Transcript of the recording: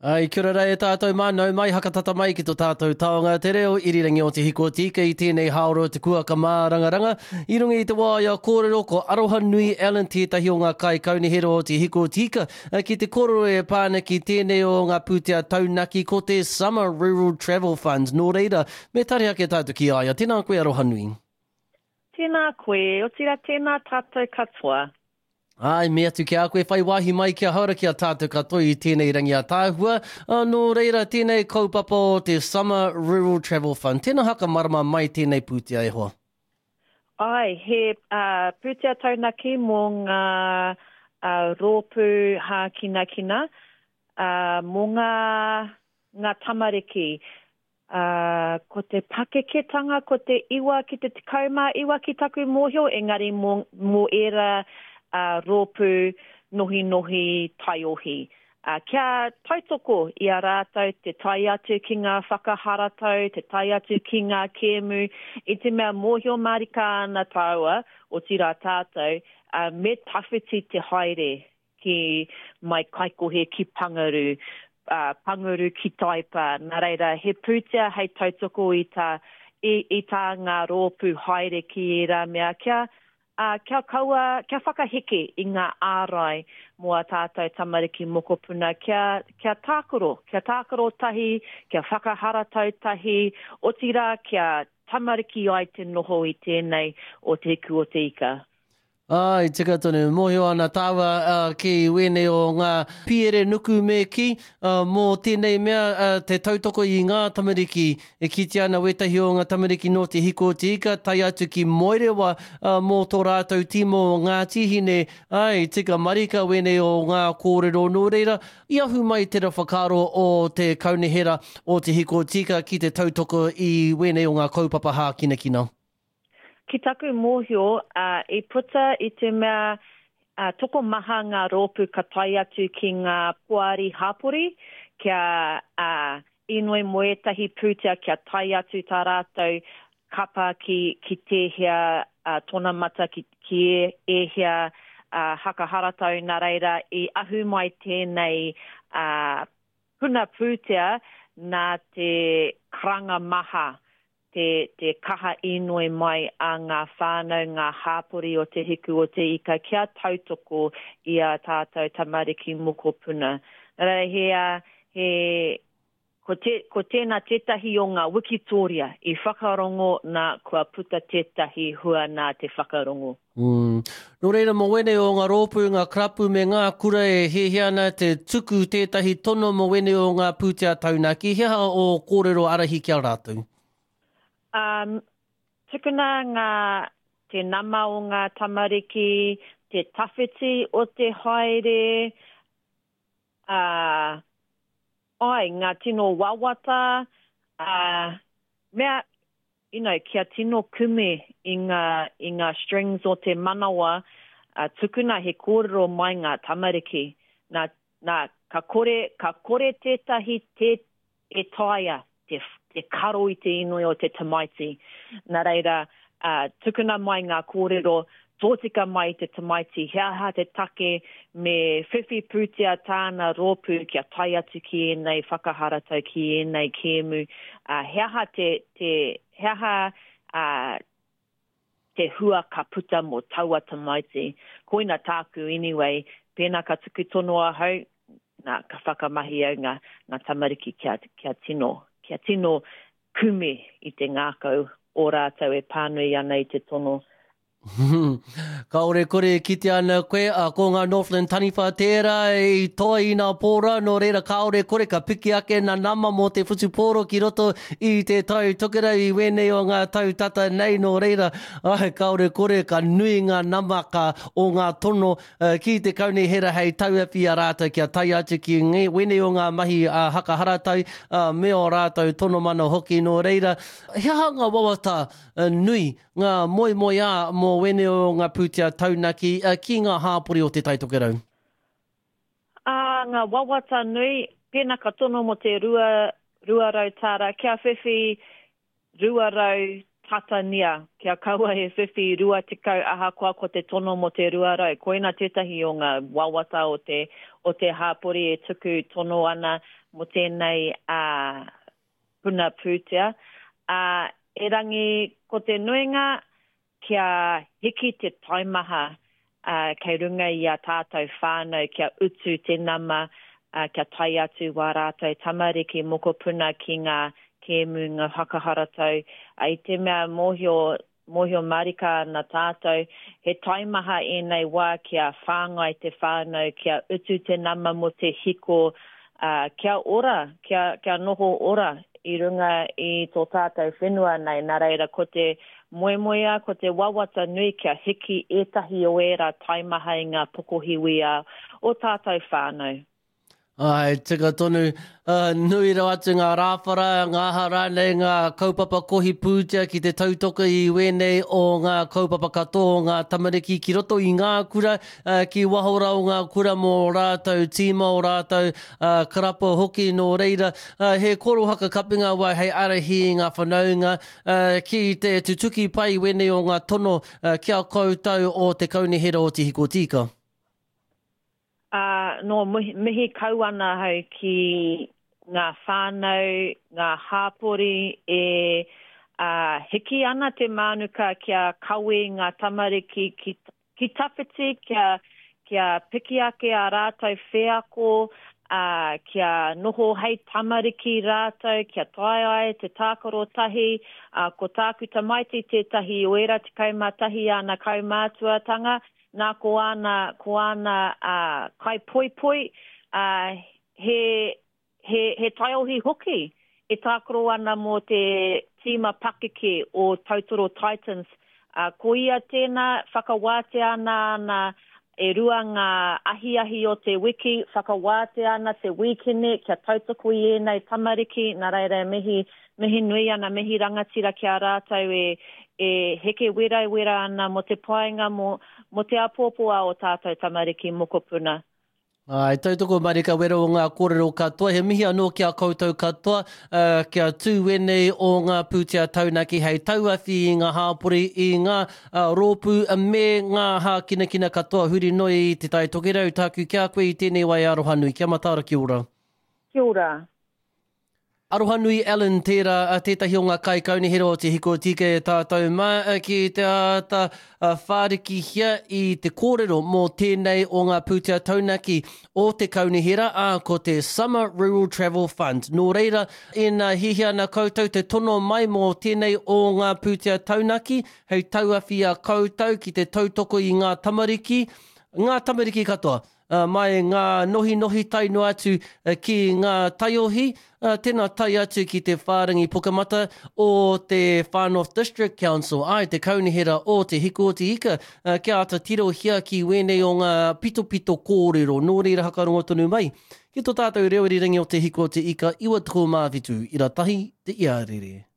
Ai, kia ora rā e tātou mā, nau mai, hakatata mai ki to tātou taonga te reo irirangi o Te Hiku o Te Ika i tēnei hāora o te kuaka mārangaranga. I runga i te waea kōrero ko Arohanui Allen tētahi o ngā kaikaunihera o Te Hiku o Te Ika ki te kōrero e pā ana ki tēnei o ngā pūtea taunaki ko te Summer Rural Travel Fund. Nō reira, me tare ake tātou ki a ia. Tēnā koe Arohanui. Tēnā koe, otirā tēnā tātou katoa. Āe, me atu ki a koe whai wāhi mai kia haora ki a tātou katoa i tēnei rangi ātaahua. Nō reira, tēnei kaupapa o te Summer Rural Travel Fund. Tēnā haka marama mai tēnei pūtea e hoa. Āe, he pūtea taunaki mō ngā rōpū hākinakina, mō ngā tamariki. Ā, ko te pakeketanga ko te iwa ki te 19 ki taku mōhio, engari mō, mō ērā ā, rōpū nohinohi taiohi. Ā, kia tautoko i a rātou te tae atu ki ngā whakaharatau, te tae atu ki ngā kēmu, i te mea mōhio mārika ana tāua, otirā tātou, ā, me tawhiti te haere ki mai Kaikohe ki Pangaru, ā, Panguru ki Taipa. Nā reira, he pūtea hei tautoko i tā, i, i tā ngā rōpū haere ki ērā mea kia, ā, kia kaua, kia whakaheke i ngā ārai mō ā tātou tamariki mokopuna kia, kia tākaro, kia tākaro tahi, kia whakaharatau tahi, otirā kia tamariki ai te noho i tēnei o Te Hiku o Te Ika. Āe, tika tonu. Mōhio ana tāua ki wēnei o ngā piere nuku me kī, mō tēnei mea te tautoko i ngā tamariki. E kitea ana wētahi o ngā tamariki nō Te Hiku o Te Ika tae atu ki Moerewa mō tō rātou tīma o Ngāti Hine. Āe, tika marika wēnei o ngā kōrero nō reira, i ahu mai tera whakaaro o te kaunihera o Te Hiku o Te Ika ki te tautoko i wēnei o ngā kaupapa hākinakina. Ki taku mōhio, i puta i te mea tokomaha ngā rōpū ka tae atu ki ngā poari hapori kia inoi mō ētahi pūtea kia tae atu tā rātou kapa ki, ki tēhea tonamata, ki, ki ēhea haka haratau, nā reira i ahu mai tēnei puna pūtea nā te karanga maha te, te kaha inoi mai a ngā whānau, ngā hāpori o Te Hiku o Te Ika kia tautoko i ā tātou tamariki mokopuna. Nā reira, he, he, ko, te, ko tēnā tētahi o ngā wikitōria i whakarongo nā kua puta tētahi hua nā te whakarongo. Mm. Nō reira, mō wēnei o ngā rōpū, ngā karapu me ngā kura e hiahia ana te tuku tētahi tono mō wēnei o ngā pūtea taunaki, he aha ō kōrero ārahi ki a rātou? Um, tukuna ngā, te nama o ngā tamariki, te tawhiti o te haere, ā, ai, ngā tino wawata, ā, mea, you know, kia tino kume i ngā, i ngā strings o te manawa, ā, tukuna he kōrero mai ngā tamariki. Nā, nā, ka kore, ka kore tētahi tē, e taea te, te karo i te inoi o te tamaiti. Nā reira, ā, tukuna mai ngā kōrero tōtika mai i te tamaiti, he aha te take me whiwhi pūtea tāna rōpū kia tae atu ki ēnei whakaharatau, ki ēnei kēmu, ā, he aha te, te, he aha, ā, te hua ka puta mō taua tamaiti. Koina tāku anyway, pēnā ka tuku tono ahau, nā, ka whakamahi au ngā, ngā tamariki kia, kia tino, kia tino kume i te ngākau o rātou e pānui ana i te tono. Kāore kore e kitea ana koe, ā, ko ngā Northland taniwha tērā i toa i nā pōra, nō reira kāore kore ka piki ake nā nama mō te whutupōro ki roto i te Tai Tokerau i wēnei o ngā tau tata nei, nō reira, āe, kāore kore ka nui ngā nama ka o ngā tono ki te kaunihera hei tauawhi i a rātou kia tae atu ki wēnei o ngā mahi haka haratau me ō rātou tono mana hoki, nō reira, he aha ngā wawata nui Ngā moemoeā mō wēnei o ngā pūtea taunaki ki ngā hāpori o Te Tai Tokerau. Ā, ngā wawata nui, pēnā ka tono mō te 200 tāra, kia whiwhi 200 tatania, kia kaua e whiwhi 20 ahakoa ko te tono mō te 200. Koina tētahi o ngā wawata o te, o te hāpori e tuku tono ana mō tēnei ā, puna pūtea. Ā, erangi ko te nuinga kia hiki te taimaha ā, kei runga i a tātou whānau kia utu te nama, ā, kia tae atu wā rātou tamariki mokopuna ki ngā kēmu, ngā whakaharatau, ā, i te mea mōhio, mōhio mārika ana tātou, he taimaha ēnei wā kia whāngai te whānau, kia utu te nama mō te hiko, ā, kia ora, kia, kia noho ora i runga i tō tātou whenua nei, nā reira ko te moemoeā, ko te wawata nui kia hiki ētahi o ērā taimaha i ngā pokohiwi a ō tātou whānau. Āe, tika tonu. Nui rawa atu ngā rāwhara, ngā aha rānei, ngā kaupapa kohi pūtea ki te tautoko i wēnei o ngā kaupapa katoa o ngā tamariki ki roto i ngā kura, ki waho rā o ngā kura mō rātou tīma, o rātou karapa hoki. Nō reira, he korohaka kapinga wai hei ārahi i ngā whanaunga Ki te tutuki pai wēnei o ngā tono ki a koutou o te Kaunihera o Te Hikotīka. Ā, nō mihi kau ana ahau ki ngā whānau, ngā hāpori e, ā, hiki ana te mānuka kia kawe ngā tamariki ki Ki tawhiti kia, kia piki ake ā rātou wheako, ā, kia noho hei tamariki rātou, kia tae ai te tākaro tahi, ā, ko tāku tamaiti tētahi o ērā 11 āna kaumātuatanga, nā ko āna, ko āna, ā, kaipoipoi, ā, he, He, he taiohi hoki e tākaro ana mō te tīma pakeke o Tautoro Titans. Ā, ko ia tēnā, whakawātea ana ana e rua ngā ahiahi o te wiki, whakawātea ana te wīkene kia tautoko i ēnei tamariki, nā reira e mihi, mihi nui ana, mihi rangatira ki a rātou e, e heke werawera ana mō te painga, mō, mō te āpōpō a ō tātou tamariki mokopuna. Ā, e tautoko marika wera o ngā kōrero katoa, he mihi anō ki a koutou katoa, ā, kia tū wēnei o ngā pūtea taunaki hei tauawhi i ngā hāpori, i ngā rōpū me ngā hākinakina katoa huri noa i Te Tai Tokerau. Tāku ki a koe i tēnei wā e aroha nui. Kia mataara, kia ora. Kia ora. Arohanui Allen tērā tētahi o ngā kaikaunihera o Te Hiko Tika e tātou mā ki te āta whārikihia i te kōrero mō tēnei o ngā pūtea taunaki o te kaunihera, ā, ko te Summer Rural Travel Fund. Nō reira, ina hiahia ana koutou te tono mai mō tēnei o ngā pūtea taunaki hei tauawhi i a koutou ki te tautoko i ngā tamariki, ngā tamariki katoa, Mai ngā nohinohi tae noa atu ki ngā taiohi, tēnā tae atu ki te whārangi pukamata o te Far North District Council, āe, te Kaunihera o Te Hiku o Te Ika, kia āta tirohia ki wēnei o ngā pitopito kōrero. Nō reira hakarongo tonu mai ki tō tātou reo irirangi o Te Hiku o Te Ika 97 ira tahi te iarere.